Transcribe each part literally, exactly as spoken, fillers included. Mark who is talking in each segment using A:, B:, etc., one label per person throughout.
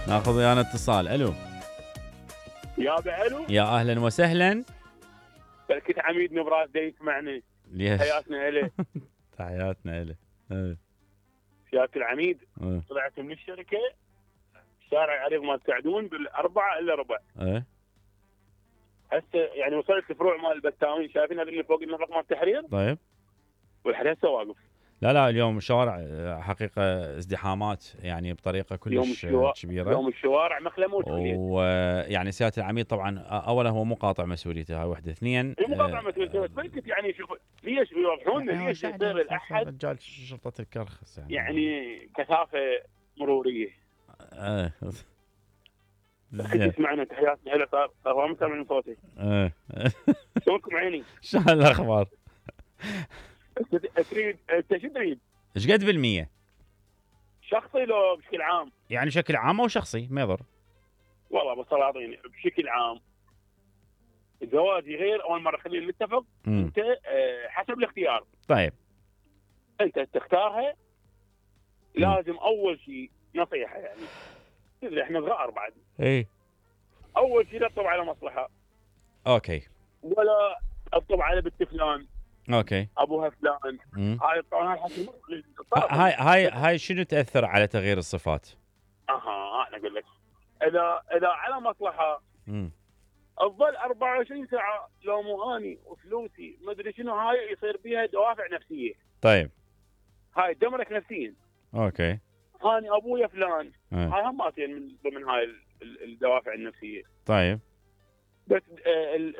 A: ناخذ ويانا اتصال. الو
B: يا بعلو،
A: يا اهلا وسهلا.
B: كنت عميد نبراس دا يسمعني.
A: ليش؟
B: حياتنا إله.
A: تحياتنا له. ايه
B: سيادة العميد،
A: ايه
B: طلعت من الشركة شارع العريض مال سعدون بالأربعة إلا ربع.
A: ايه
B: هسه يعني وصلت الفروع مال البتاوين، شايفين هذا اللي فوق النفق مال التحرير؟
A: طيب.
B: والحين هسه واقف.
A: لا لا اليوم الشوارع حقيقة ازدحامات يعني بطريقة كلش كبيرة.
B: يوم الشوارع مخلموت
A: ويعني سيادة العميد طبعا اولا هو مو قاطع مسؤوليته، هاي وحدة. اثنين
B: مو قاطع مسؤوليته، بس كنت يعني شوف ليش يوضحون لنا ليش يصير الاحد
A: رجال شرطة الكرخس يعني,
B: يعني كثافة مرورية.
A: ايه
B: كنت تسمعنا. تحياتنا هلا. صار صار ما سامعين صوتي.
A: ايه
B: شلونكم عيني؟
A: شو الاخبار؟
B: تريد انت شو تريد؟
A: ايش قد بالمية؟
B: شخصي لو بشكل عام؟
A: يعني شكل عام او شخصي ما يضر.
B: والله بصراحة بشكل عام زواجي غير. اول مرة خلينا نتفق.
A: مم.
B: انت اه حسب الاختيار.
A: طيب
B: انت تختارها. لازم اول شيء نصيحة يعني تدري احنا صغار بعد.
A: اي
B: اول شيء لا تطب على مصلحة.
A: اوكي.
B: ولا تطب على بنت فلان.
A: اوكي.
B: ابوها فلان.
A: مم.
B: هاي طبعا هاي
A: هاي هاي هاي شنو تاثر على تغيير الصفات؟
B: اها انا اقول لك. اذا اذا على مصلحة
A: امم
B: تظل أربعة وعشرين ساعة لو مو اني وفلوسي ما ادري شنو، هاي يصير بيها دوافع نفسية.
A: طيب.
B: هاي تدمرك نفسيا.
A: اوكي.
B: هاني ابويا فلان.
A: اه.
B: هاي هم ماتين من ضمن هاي الدوافع النفسية.
A: طيب.
B: بس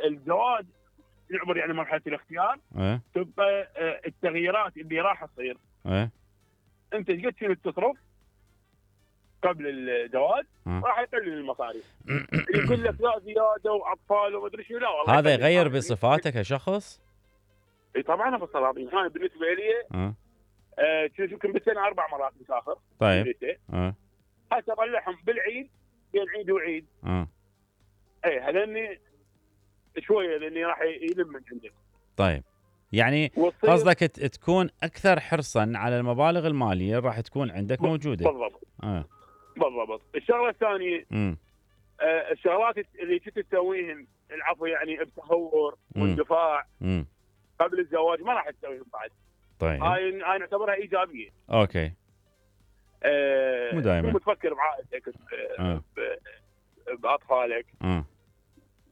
B: الزواج يعبر يعني مرحلة الاختيار.
A: اه.
B: تبقى التغييرات اللي راح تصير.
A: اه.
B: انت ايش قد شنو تصرف قبل الزواج
A: اه.
B: راح يقلل المصاريف. يقول لك لا زياده واطفال وما ادري شنو. لا والله
A: هذا يغير بصفاتك كشخص؟
B: اي طبعا ابو الصلاطين. انا بالنسبه لي
A: اه
B: آه شوف يمكن بالسنه اربع مرات مسافر.
A: طيب. اه
B: هسه اطلعهم بالعيد بين عيد وعيد.
A: اه
B: اي هذني شويه لاني راح يلم من عندك.
A: طيب يعني قصدك تكون اكثر حرصا على المبالغ الماليه راح تكون عندك موجوده.
B: بالضبط.
A: اه
B: بالضبط. الشغله الثانيه
A: امم
B: آه الشغلات اللي كنت تسويهن العفو يعني بتهور واندفاع قبل الزواج ما راح تسويهم بعد.
A: طيب
B: هاي هاي نعتبرها ايجابيه.
A: اوكي.
B: آه
A: مو دائما
B: تفكر بعائلتك
A: آه.
B: باطفالك.
A: اه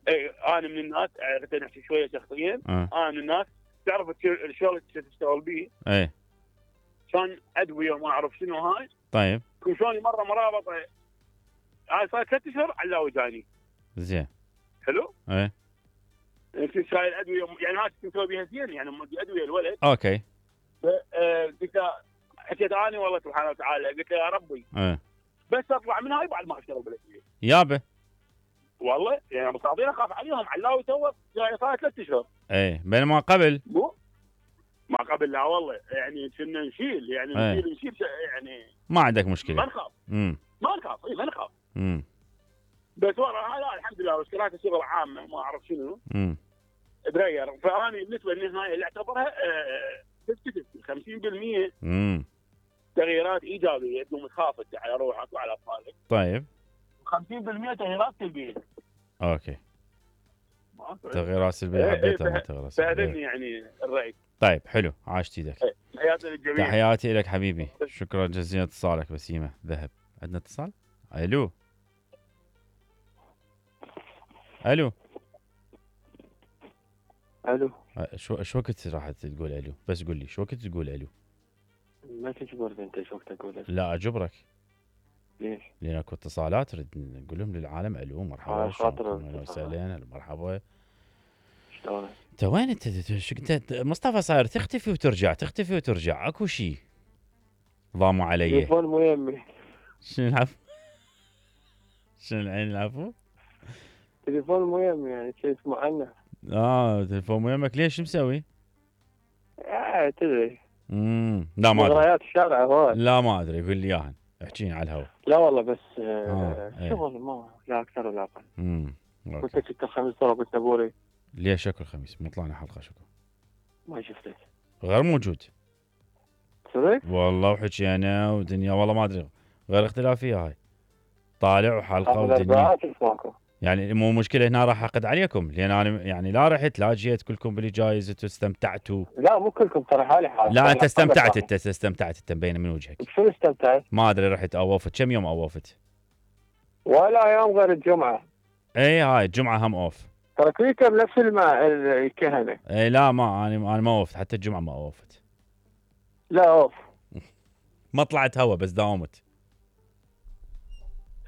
B: اي انا من الناس عرفت نحكي شويه شخصيا.
A: آه.
B: انا من الناس تعرف الشغل اللي تشتغل به.
A: اي
B: كان ادويه وما اعرف شنو هاي.
A: طيب
B: كل شلوني مره مرابطه هاي صار ثلاث اشهر علاوي جاني.
A: زين.
B: حلو؟
A: اي
B: كنت شايل ادويه يعني هاي كنت مسوي بها زين يعني مودي ادويه الولد.
A: اوكي.
B: قلت له حكيت اني والله سبحانه وتعالى قلت له يا ربي
A: اي
B: بس اطلع من هاي بعد ما اشتغل بالادويه.
A: يابا
B: والله يعني مصابين اخاف عليهم علاوي تو يعني صار ثلاث اشهر.
A: اي بينما قبل
B: مو ما قبل لا والله يعني كنا نشيل يعني
A: أيه.
B: نشيل نشيل يعني
A: ما عندك مشكله.
B: ما نخاف.
A: امم
B: ما نخاف اي ما نخاف.
A: امم
B: بس ورا لا الحمد لله واشتغلت شغل عام ما اعرف شنو.
A: امم
B: تغير. فانا بالنسبه للنهايه اللي اعتبرها خمسين بالمئة
A: امم
B: تغييرات ايجابيه تقوم تخاف على روحك وعلى اطفالك.
A: طيب
B: خمسين بالمئة تغييرات سلبيه.
A: اوكي. تغييرات سلبيه حبيتها ما تغييرات سلبيه.
B: فهذني يعني الراي.
A: طيب حلو عاشت ايدك.
B: تحياتي للجميع.
A: تحياتي لك حبيبي. شكرا جزيلا اتصالك بسيمه ذهب. عندنا اتصال. الو الو
C: الو
A: شو شو وقت راح تقول الو؟ بس قول لي شو وقت تقول الو؟
C: ما تجبرني انت شو وقت تقول.
A: لا اجبرك.
C: ليش؟
A: لان اكو اتصالات تريد نقول لهم للعالم الو مرحبا
C: خاطر
A: وسهلا مرحبا.
C: شلونك؟
A: انت وين انت انت مصطفى صاير تختفي وترجع تختفي وترجع اكو شيء ضاموا علي.
C: تليفون مو يمي.
A: شنو العفو؟ شنو العين العفو؟
C: تليفون مو يمي يعني شيء اسمه عنه.
A: اه تليفون مو يمك ليش شو مسوي؟
C: آه تدري.
A: امم لا ما ادري.
C: مغريات الشارع هواي.
A: لا ما ادري قول لي اياها احكيني على الهواء.
C: لا والله بس
A: آه.
C: آه. شغل ما لا اكثر ولا اقل.
A: امم
C: قلت لك الخميس ترى قلت ابوري.
A: ليش شكو الخميس؟ مو طلعنا حلقه شكو؟
C: ما شفتك.
A: غير موجود.
C: صدق؟
A: والله وحكي انا ودنيا والله ما ادري غير اختلافيه هاي. طالع وحلقه ودنيا. يعني مو مشكله هنا راح اعقد عليكم، لان انا يعني لا رحت لا جيت كلكم باللي جايزه واستمتعتوا.
C: لا مو كلكم ترى حالي حالي.
A: لا انت استمتعت، انت استمتعت، انت مبينه من وجهك.
C: شو استمتعت؟
A: ما ادري رحت اوفت كم يوم اوفت؟
C: ولا يوم غير الجمعه.
A: اي هاي الجمعه هم اوف.
C: ترى كلكم نفس الماء الكهنه.
A: اي لا ما انا انا ما اوفت، حتى الجمعه ما اوفت.
C: لا اوف.
A: ما طلعت هوا بس داومت.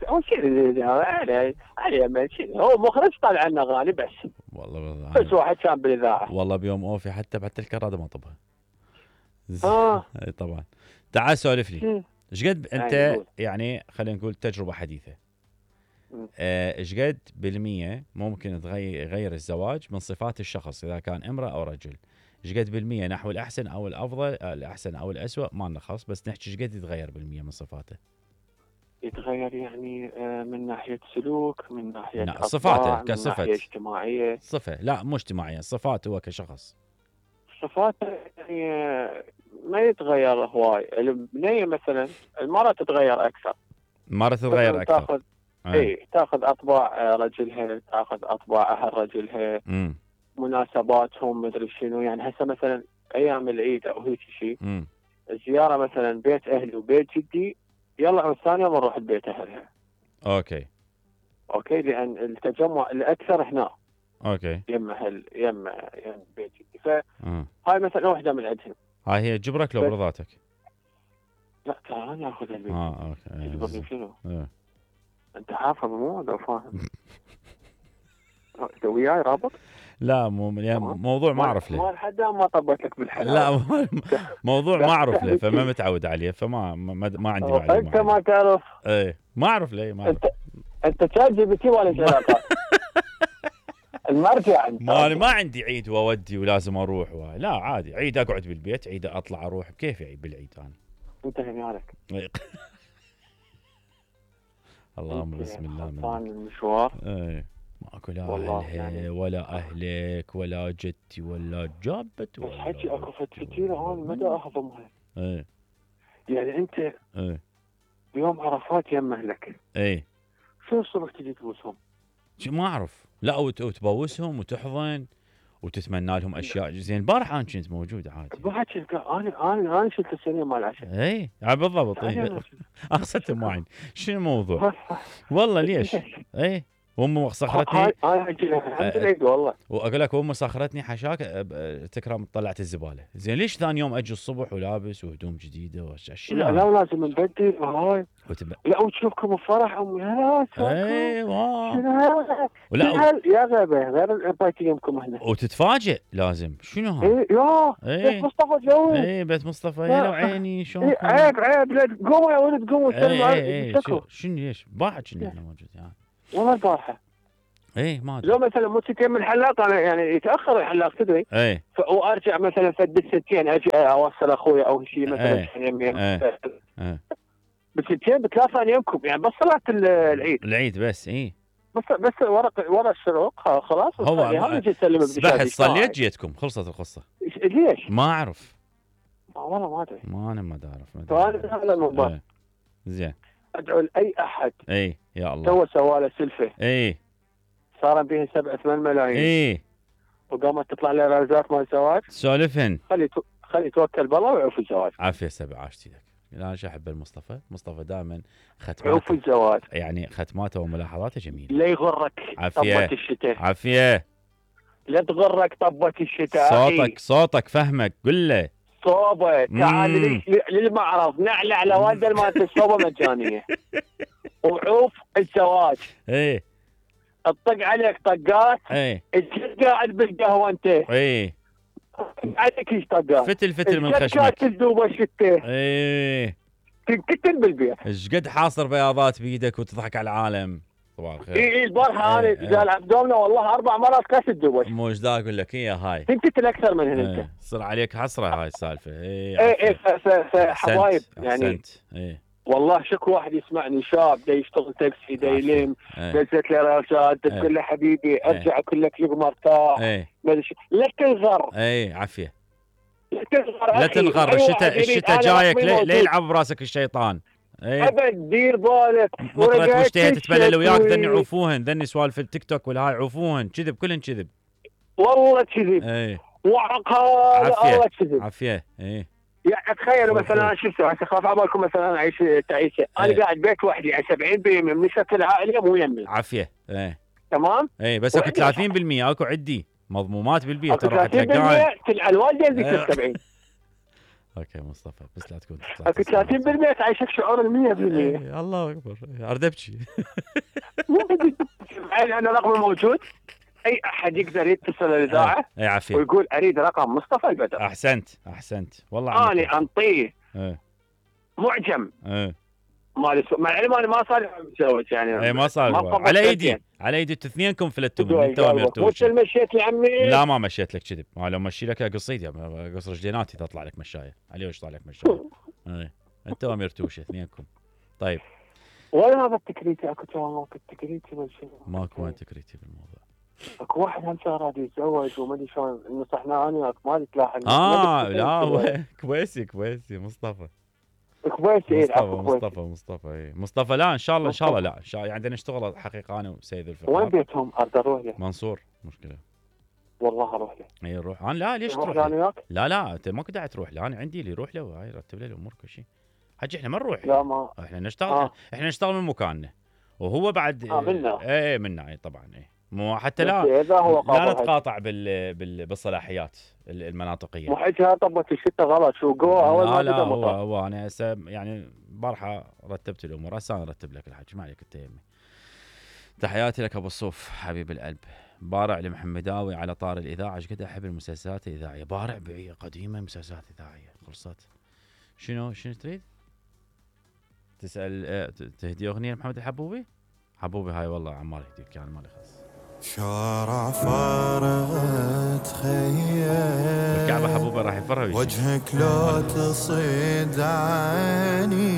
C: هو شيء علي علي هو مخرج طالع لنا اغاني بس.
A: والله
C: بس واحد كان بالاذاعه.
A: والله بيوم اوفي حتى حتى الكراده ما طبها.
C: اه
A: اي طبعا. تعال سولف لي. ايش قد انت
C: يعني,
A: يعني خلينا نقول تجربه حديثه. ايش قد بالمية ممكن تغير يغير الزواج من صفات الشخص اذا كان امراه او رجل؟ ايش قد بالمية نحو الاحسن او الافضل، الاحسن او الاسوء ما نخص، بس نحكي ايش قد يتغير بالمية من صفاته؟
C: يتغير يعني من ناحيه سلوك، من ناحيه
A: لا صفاته كصفه،
C: من ناحيه اجتماعيه.
A: صفه لا مو اجتماعيه، صفات هو كشخص.
C: صفاته يعني ما يتغير هواي. البنيه مثلا المراه تتغير اكثر.
A: المراه تتغير اكثر.
C: تاخذ اي تاخذ اطباع رجلها، تاخذ اطباع اهل رجلها،
A: امم
C: مناسباتهم مدري شنو. يعني هسه مثلا ايام العيد او هيك شيء، الزياره مثلا بيت اهلي وبيت جدي، يلا الثاني يوم نروح البيت اهلها.
A: اوكي
C: اوكي لان التجمع الاكثر هنا.
A: اوكي
C: يم اهل يم يم بيت جدي. فهاي مثلا واحده من عندهم.
A: هاي هي تجبرك لو برضاتك؟
C: لا ترى انا اخذ البيت.
A: اه اوكي
C: تجبرني شنو؟
A: اه.
C: انت حافظ مو لو فاهم. انت وياي رابط؟
A: لا مو يعني موضوع ما اعرف له.
C: ما حدا ما طبت لك بالحلال.
A: لا موضوع ما اعرف له فما متعود عليه، فما ما, ما عندي معلومه.
C: انت ما تعرف؟
A: ايه ما اعرف ليه ما أعرف.
C: انت انت شات جي بي تي ولا علاقه؟ المرجع انت.
A: ما انا ما عندي عيد واودي ولازم اروح و... لا عادي، عيد اقعد بالبيت، عيد اطلع اروح، بكيف عيد بالعيد انا.
C: انت هنالك.
A: اللهم بسم الله
C: من المشوار.
A: ايه ماكو لا اهلها يعني ولا اهلك ولا جدتي ولا جابت ولا
C: حكي اكو فتفتيره انا مدى اهضمها.
A: ايه
C: يعني انت
A: ايه
C: بيوم عرفات يم اهلك.
A: ايه
C: شو الصبح تجي تبوسهم؟
A: شو ما اعرف. لا وتبوسهم وتحضن وتتمنى لهم اشياء. زين البارح انا كنت موجود عادي.
C: البارح كنت انا انا انا شلت السرير مال العشاء.
A: اي بالضبط. اي اقصد ما عندي. شنو الموضوع؟ والله ليش؟ اي وامي صخرتني.
C: هاي الحمد لله والله.
A: واقول لك امي صخرتني حشاك تكرم طلعت الزباله. زين ليش ثاني يوم اجي الصبح ولابس وهدوم جديده وش
C: لا لا لازم نبدل هاي.
A: وتب...
C: لا وتشوفكم بفرح امي. لا
A: ايوه
C: ولا يا غبي غير البيت يمكم هنا.
A: وتتفاجئ لازم شنو هذا؟
C: اي يا
A: ايه
C: بيت مصطفى جوي.
A: اي بيت مصطفى يا لو عيني شلون.
C: ايه عيب عيب لا قوموا يا ولد قوموا
A: سلموا. اي شنو ليش؟ باحة كنا احنا موجود يعني.
C: والله البارحه.
A: ايه ما ادري.
C: لو مثلا مو ستين من الحلاق انا يعني يتاخر الحلاق تدري.
A: ايه
C: وارجع مثلا فد الستين اجي اوصل اخوي او شيء مثلا
A: ايه
C: يمين.
A: ايه ايه
C: بالستين بثلاثه انا يمكم يعني بس صلاه العيد.
A: العيد بس اي.
C: بس بس ورق ورق الشروق خلاص.
A: هو
C: هذا يجي يسلم
A: بحث صليت جيتكم خلصت القصه.
C: ليش؟
A: ما اعرف.
C: والله ما ادري.
A: ما انا ما اعرف.
C: فانا هذا الموضوع.
A: ايه. زين.
C: ادعو لاي احد.
A: اي يا الله.
C: تو سوى له سلفه.
A: اي.
C: صار بها سبعة ثمان ملايين.
A: اي.
C: وقامت تطلع له رازات مال زواج.
A: سولفن.
C: خلي تو... خلي يتوكل بالله ويعوف الزواج.
A: عافيه سبع عاشتي لك. لا انا احب المصطفى، مصطفى دائما ختماته
C: عوف الزواج.
A: يعني ختماته وملاحظاته جميله.
C: لا يغرك طبة الشتاء.
A: عافيه.
C: لا تغرك طبة الشتاء.
A: صوتك صوتك فهمك قل له.
C: صوبه تعال للمعرض نعلى على والده مالت الصوبه مجانيه. وعوف الزواج.
A: ايه.
C: اطق عليك طقات.
A: ايه.
C: انت قاعد بالقهوه انت.
A: ايه.
C: عليك ايش طقات.
A: فتل فتل من خشمك.
C: تذوب الشتاء.
A: ايه.
C: تنكتل بالبيع.
A: ايش قد حاصر بياضات بايدك وتضحك على العالم. صباح الخير.
C: اي اي البارحه انا ايه قال عبدومنا والله اربع مرات كاس الدوش.
A: مو ايش ذا اقول لك هي هاي.
C: تنكتل اكثر من هنا انت.
A: صار عليك حسره هاي السالفه. اي
C: اي اي حبايب يعني.
A: احسنت. اي
C: والله شكو واحد يسمعني شاب دا يشتغل تاكسي دا يلم دزت له راسات تقول له حبيبي ارجع اقول لك يوم ارتاح. لا تنغر.
A: اي عافيه.
C: لا تنغر
A: لا تنغر. الشتاء الشتاء جايك ليه يلعب براسك الشيطان. ايه.
C: ابد دير بالك.
A: مطرت واشتهي تتبلل وياك ذني عوفوهن، ذني سوالف التيك توك والهاي عوفوهن، كذب كلهن كذب.
C: والله كذب.
A: ايه.
C: وعقال الله كذب.
A: عافيه. ايه.
C: يعني تخيلوا مثلا انا شو اسوي؟ هسه خاف عبالكم مثلا اعيش تعيشه، انا ايه. قاعد بيت وحدي، يعني سبعين بالمئة من نسبة العائليه مو يمي.
A: عافيه. ايه.
C: تمام؟
A: ايه بس اكو ثلاثين بالمئة اكو عندي مضمومات بالبيت
C: ترى راح تلقاها تلقى الوالده ذيك سبعين.
A: اوكي مصطفى بس لا تكون
C: اكو ثلاثين بالمئة تعيشك شعور ال مية بالمئة.
A: ايه الله اكبر اريد ابكي.
C: انا رقمي موجود، اي احد يقدر يتصل الاذاعه
A: اي عافيه
C: ويقول اريد رقم مصطفى البدر.
A: احسنت احسنت والله.
C: انا انطيه
A: ايه.
C: معجم.
A: ايه.
C: مال مع العلم انا ما صار متزوج يعني.
A: اي ما صار على ايدي على ايدي اثنينكم فلتوا من انت
C: ومرتوش. مو مشيت لي عمي؟
A: لا ما مشيت لك كذب، ما لو مشي لك قصيت يا قص رجليناتي تطلع لك مشايه عليه وش طالع لك مشايه. اي انت ومرتوش اثنينكم. طيب
C: وين هذا التكريتي؟ اكو كان التكريتي ولا شيء؟
A: ماكو وين تكريتي بالموضوع.
C: اكو واحد هم صار راد يتزوج وما ادري شلون نصحنا انا وياك ما تلاحق.
A: اه لا هو كويسي كويسي مصطفى
C: كويسي.
A: مصطفى مصطفى مصطفى اي مصطفى. لا ان شاء الله ان شاء الله لا ان شاء الله يعني نشتغل حقيقه انا وسيد الفقار.
C: وين بيتهم؟ ارد اروح له.
A: منصور. مشكله
C: والله اروح له.
A: اي روح. انا لا ليش تروح له؟ لا لا انت ما كنت تروح له، انا عندي اللي يروح له وهاي رتب له الامور كل شيء. حجي احنا ما نروح.
C: لا ما
A: احنا نشتغل. آه. احنا نشتغل من مكاننا وهو بعد.
C: اه منا.
A: اي منا اي طبعا. اي مو حتى لا لا نتقاطع بال... بال... بالصلاحيات المناطقيه.
C: مو حجها طبت الشتاء غلط شو قوه اول ما
A: لا لا هو هو انا هسه يعني بارحه رتبت الامور، هسه انا ارتب لك الحكي ما عليك انت يمي. تحياتي لك ابو الصوف حبيب القلب. بارع لمحمداوي على طار الاذاعه، ايش قد احب المسلسلات الاذاعيه. بارع قديمه مسلسلات اذاعيه خلصت. شنو شنو تريد؟ تسال تهدي اغنيه محمد الحبوبي؟ حبوبي هاي والله عمال يهديك يعني مالي خاص.
D: شارع فارغ تخيل
A: الكعبه حبوبي راح يفرج
D: وجهك لو تصيد عيني